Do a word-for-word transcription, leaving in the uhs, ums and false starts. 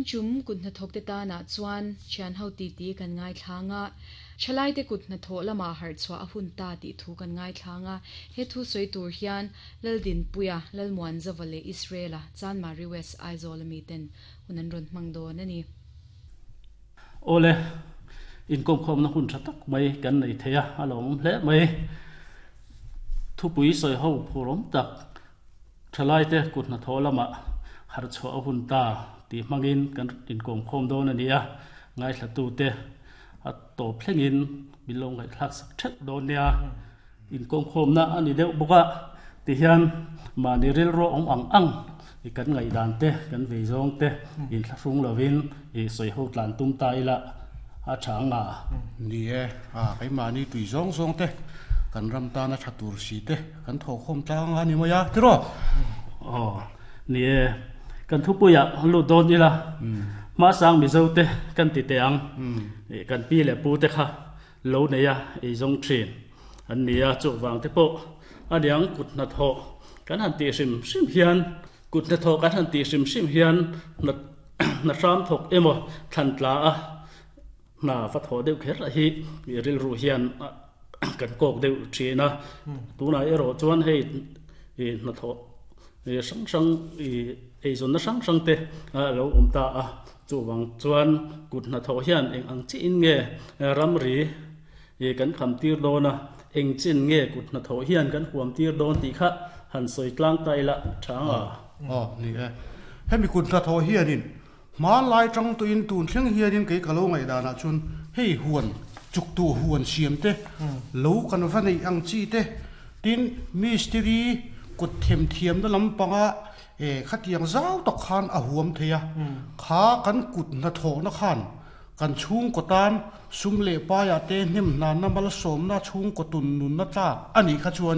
Tun tum kut hnathawkte tanah chuan thian ho titi kan ngaithla nga, thalaite kut hnathawh lama harh chhuah a hun ta tih thu kan ngaithla nga. He thu sawi tur hian Laldinpuia, Lalmuanzava leh Israela Chanmari West Aizawl ami ten hun an rawn hmang dawn a ni. Awle, inkawmkhawmna hun tha tak mai kan nei thei a, a lawmawm hle mai. Thupui sawi ho phurawm tak thalaite kut hnathawh lama harh chhuah a hun ta tih hmangin kan inkawmkhawm dawn a ni a, ngaithlatute a tawp thlengin min lo ngaihthlak sak theuh dawn nia. Inkawmkhawmna a ni deuh bawk a, tihian mahni rilru awm ang ang i kan ngaihdan te, kan vei zawng te inthlahrung lovin i sawi ho tlan tum ta ila a tha ang a. Ni e, a keimahni tui zawng zawng te kan ram tana tha tur si te kan thawhkhawm tlang a ni mai a, tiraw? Aw, ni e, kan thupuiah lut dawn ila, hmasang Mizo te kan ti teh ang, kan pi leh pu te kha lo nei a ei zawng thin an ni a, chuvang te pawh a niang kut hnathawh kan han tih hrim hrim hian, kut hnathawh kan han tih hrim hrim hian hna hram thawk emaw thlan tla a hna va thawh deuh kher a hi rilru hian kan kawk deuh thin a. Tunah erawh chuan hei hnathawh hrang hrang eizawnna hrang hrang te a lo awm ta a, chuvang chuan kut hnathawh hian eng ang chiin nge ramri kan kham tir dawn a, eng chin nge kut hnathawh hian kan huam tir dawn tih kha han sawi tlang ta ila tha ang a. Aw, ni e. Hemi kut hnathawh hianin hmanlai tang tuin tun thleng hianin kei ka lo ngaihdanah chuan hei huan chuktu huan siam te, lo kan va neih ang chi te, tin mistiri kut them thiamna lampanga e khatiang zau tak khan a huam thei a, kha kan kut hnathawhna khan kan chhungkaw tan sum leh paia te hnem hnanna malsawmna chhungkaw tun nunna tlak a nih kha chuanin.